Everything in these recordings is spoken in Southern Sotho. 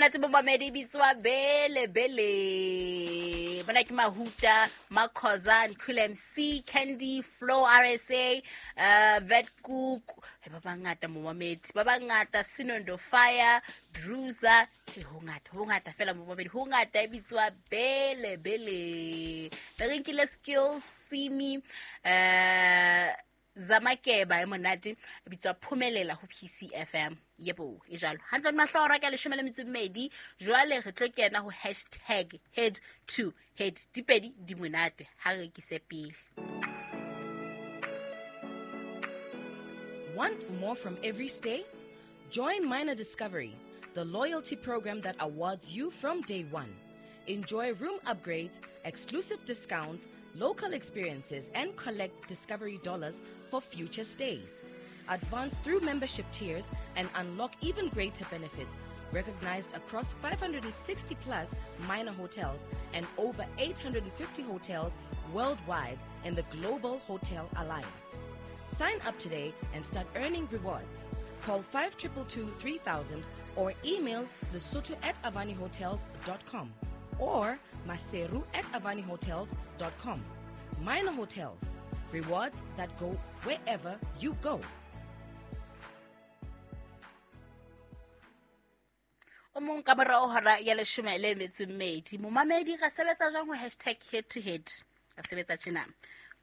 Monate momamedi e bitswa Bele Bele. Mona ke Mahuta, Makhoza, Cool MC, Candy, Flow RSA, Vet Cook, ba bangata momamedi, ba bangata Sinondo Fire, Druza, ho ngata, ho ngata fela momamedi, ho ngata e bitswa Bele Bele. Re nkile Skills, Simi, Zamakeba e monate e bitswa Phumelela ho PCFM. Yebo, e jalo. Hantle mahlora ka 12. Jwale re tlo kena ho hashtag head to head. Dipedi di monate ha re rekise pele. Want more from every stay? Join Minor Discovery, the loyalty program that awards you from day one. Enjoy room upgrades, exclusive discounts, local experiences, and collect Discovery dollars for future stays. Advance through membership tiers and unlock even greater benefits, recognized across 560 plus minor hotels and over 850 hotels worldwide in the Global Hotel Alliance. Sign up today and start earning rewards. Call 5222 3000 or email lesotho@avanihotels.com or maseru@avanihotels.com. Minor Hotels, rewards that go wherever you go. O mong ka morao hora ya 12. Momamedi re sebetsa jwang ho hashtag head to head? Re sebetsa tjena.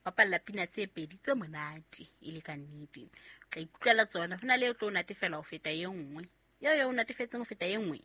Bapalla pina tse pedi tse monate e le ka nnete. O tla ikutlwela tsona, ho na le e tlo o natefela ho feta e nngwe. Eo e o natefetseng ho feta e nngwe,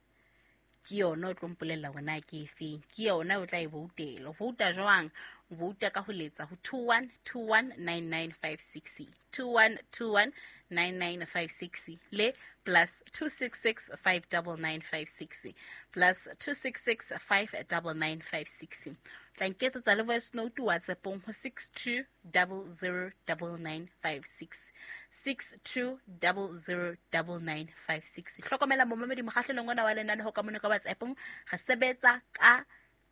ke yona o tlo mpolella hore na ke efeng. Ke yona o tla e voutela. O vouta jwang? O vouta ka ho letsa ho 21219956. 21219956 le plus 266 59956. Plus 266 59956. Tla nketsetsa le voice note WhatsAppong ho 62009956. 62009956. Hlokomela momamedi mokgahlelong ona wa lenane ho ka mona ka WhatsAppong, re sebetsa ka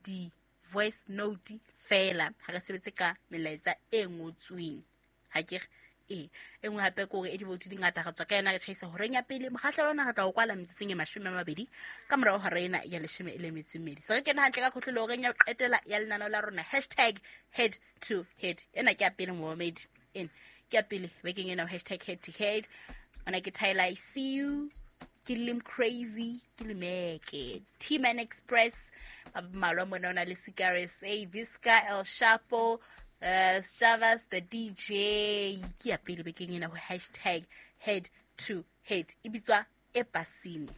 di voice note fela, ha re sebetse ka melaetsa e ngotsweng. Ha ke re e nngwe hape ke hore e di-vote di ngata, re tswa ka yona re tjhaisa horeng ya pele. Mokgahlelo ona re tla o kwala metsotsong e 20 ka morao hora ena ya 12. Se re kena hantle ka khotlolo horeng ya ho qetela ya lenaneo la rona, hashtag head to head. Ena ke ya pele momamedi, ena ke ya pele bekeng ena, hashtag head to head. Ona ke Tyler, I see you, ke Lim Crazy, ke Limeke, T-Man Express, ba mmalwa mona, o na le Sicaris, A, Visca, El Chapo, Chavas the DJ. Ke ya pele bekeng ena ho hashtag head to head, e bitswa Epasini.